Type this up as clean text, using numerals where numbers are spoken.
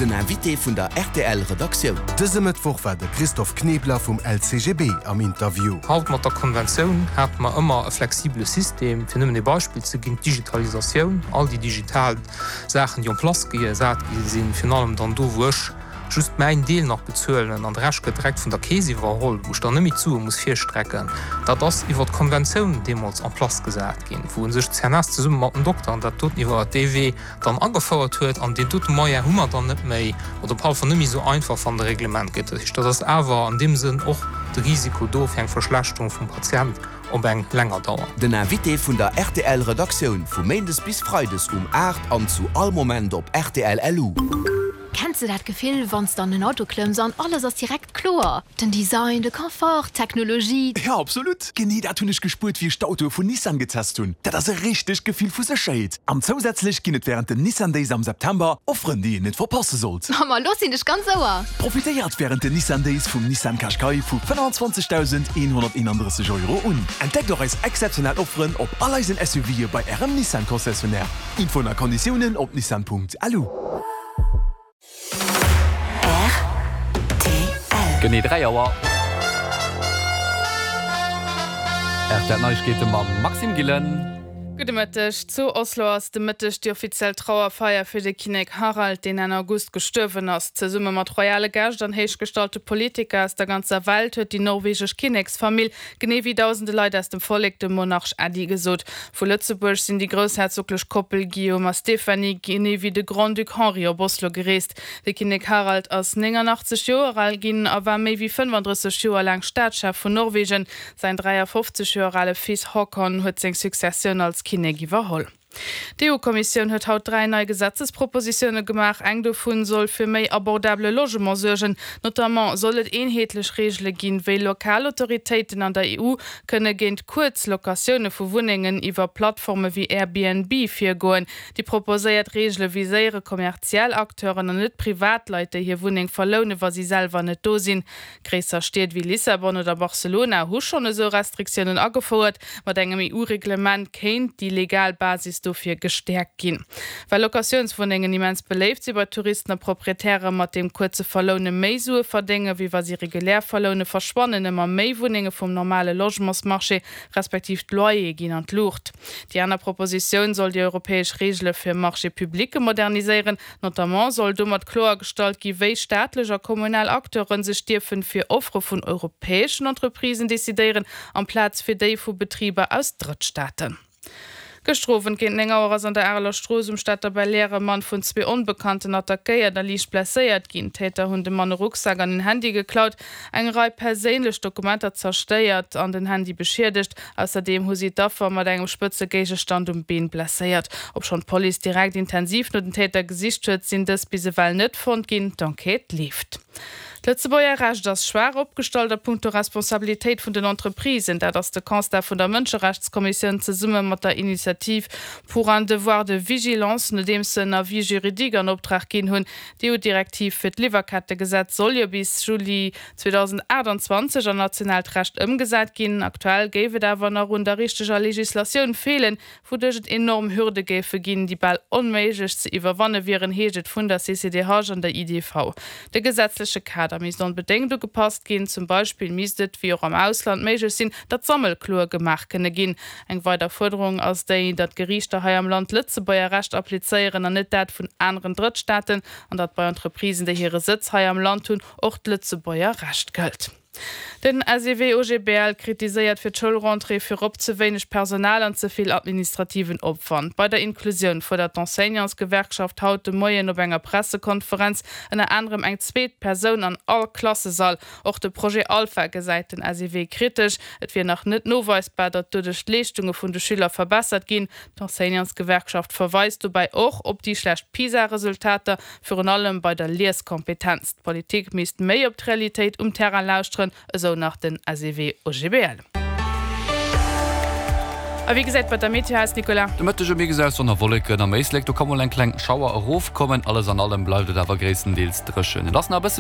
Den Invité vun der rtl Redaktioun. Dëse Mëttwoch war de Christophe Knebler vum LCGB am Interview. Haut mat der Konventioun hate mer ëmmer e flexibele System. Fir nëmmen ee Beispill ze ginn, d'Digitalisatioun, all déi digital Saachen, déi en place gesat gi sinn, virun allem dann do, wou ech just mäin Deel nach bezuelen an de Rescht gëtt direkt vun der Keess iwwerholl, wou ech dann net méi d'Sue muss virstrecken, dat ass iwwer d'Konventioun deemools en place gesat ginn, wou u sech d'CNS zesumme mat den Dokteren dat doten iwwer dee Wee dann agefouert huet. An deen dote Moyen hu mer dann net méi oder op alle Fall net méi esou einfach, wann de Reglement gëtt. Dat heescht, dat ass awer an deem Sënn och de Risiko do fir eng Verschlechterung vum Patient op eng länger Dauer. Den Invité vun der rtl Redaktioun vu Méindes bis Freides um 8 an zu all Moment op rtl LU. Kenns de dat Gefill, wann s de an den Auto klëmms an alles ass direkt kloer? Den Design, de Confort, d'Technologie. Jo, absolut! Genee dat hunn ech gespuert, wéi ech d'Autoe vun Nissan getest hunn. Dat ass e richtegt Gefill vu Sécherheet. An zousätzlech ginn et wärend den Nissan Days am September Offeren, déi een net verpasse sollt. Ma lo sinn ech ganz Ouer! Profitéiert wärend den Nissan Days vum Nissan Qashqai vu 25.131 Euro un. Entdeckt och eis exzeptionell Offeren op all eisen SUVe bei Ärem Nissan Concessionnaire. Infoen a Konditiounen op nissan.lu. Rtl. Genee 3 Auer. Rtl Neiegkeete mam Maxime Gillen. Gudde Mëtteg. Zu Oslo ass de Mëtteg déi offiziell Trauerfeier fir de Kinnek Harald, deen Enn August gestuerwen ass. Zesumme mat royale Gäscht an héichgestallte Politiker aus der ganzer Welt huet déi norwegesch Kinneksfamill, genee wéi dausende Leit aus dem Vollek, dem Monarch Äddi gesot. Vu Lëtzebuerg sinn déi groussherzoglech Koppel Guillaume a Stéphanie, genee wéi de Grand-Duc Henri op Oslo gereest. De Kinnek Harald ass 89 Joer al ginn a war méi wéi 35 Joer laang Staatschef vun Norwegen. Säin 53 Joer ale Fils Haakon huet seng Successioun als Kinnek iwwerholl. D'EU-Kommissioun huet haut 3 nei Gesetzespropositioune gemaach. Eng dovun soll fir méi abordabele Logement suergen. Notamment soll et eenheetlech Reegele ginn, wéi lokal Autoritéiten an der EU kënne géint kuerz Locatioune vu Wunnengen iwwer Plattforme wéi Airbnb virgoen. Déi proposéiert Reegele viséiere kommerziell Acteuren an net Privatleit, déi hir Wunneng verloune wa si selwer net do sinn. Gréisser Stied wéi Lissabon oder Barcelona hu schonn esou Restriktiounen agefouert. Mat engem EU-Reglement kéint déi legal Basis dofir gestäerkt ginn. Well Locatiounswunnengen immens beléift si bei Touristen a Proprietäre mat deem kuerze Verloune méi Sue verdénge wéi wa si regulär verloune, verschwannen ëmmer méi Wunnenge vum normale Logementsmarché, respektiv d'Loyere ginn an d'Luucht. Déi aner Propositioun soll déi europäesch Reegele fir Marchés publicë moderniséieren. Notamment soll domat kloergestallt gi wéi staatlech a kommunal Acteure sech dierfen fir Offere vun europäeschen Entreprisen decidéieren, amplaz fir déi vu Betriber aus Drëttstaaten. Gëschter Owend géint 9 Auer ass an der Areler Strooss um Stater Belair e Mann vun zwee Onbekannten attackéiert a liicht blesséiert ginn. D'Täter hunn dem Mann e Rucksak an en Handy geklaut, eng Rei perséinlech Dokumenter zerstéiert an den Handy beschiedegt. Ausserdeem hu si d'Affer mat engem spëtze Géigestand um Been blesséiert. Obschonn d'Police direkt intensiv no den Täter gesicht huet, sinn dës bis ewell net fonnt ginn. D'Enquête leeft. D'Lëtzebuerger Recht ass schwaach opgestallt a punkto Responsabilitéit vun den Entreprisen. Dat ass de Constat vun der Mënscherechtskommissioun zesumme mat der Initiative pour un devoir de vigilance, nodeems se en Avis juridique an Optrag ginn hunn. D'EU-Direktiv fir d'Liwwerkettegesetz soll jo bis Juli 2028 an nationaalt Recht ëmgesat ginn. Aktuell géif et awer nach un der richteger Legislatioun feelen, wouduerch et enorm Hürde géife ginn, déi bal onméiglech ze iwwerwanne wieren, heescht et vun der CCDH an der IDV. De gesetzleche Kader misst onbedéngt ugepasst ginn. Zum Beispill misst et, wéi och am Ausland, méiglech sinn, datt Sammelkloe gemaach kënne ginn. Eng weider Fuerderung ass déi, datt d'Geriichter hei am Land d'Lëtzebuerger Recht applizéieren an net dat vun aneren Drëttstaaten, an datt bei Entreprisen, déi hire Sëtz hei am Land hunn, och d'Lëtzebuerger Recht gëllt. Den SEW-OGBL kritiséiert fir d'Schoulrentrée virop ze wéineg Personal an ze vill administrativen Opwand. Bei der Inklusioun fuerdert d'Enseignantsgewerkschaft haut de Moien op enger Pressekonferenz ënner anerem eng zweet Persoun an all Klassesall. Och de Projet Alpha gesäit den SEW kritesch. Et wier nach net noweisbar, datt doduerch d'Leeschtunge vun de Schüler verbessert ginn. D'Enseignantsgewerkschaft verweist dobäi och op déi schlecht PISA-Resultater, Virun allem bei der Lieskompetenz. D'Politik misst méi op d'Realitéit um Terrain lauschteren, esou nach den SEW-OGBL. A wéi gesäit bei der Meteo aus, Nicolas? De Mëtteg e Mix aus Sonn a Wolleken. Am Éislek, do ka mol eng kleng Schauer erofkommen. Alles an allem bleift et awer gréisstendeels dréchen. Et ass nach e bësse.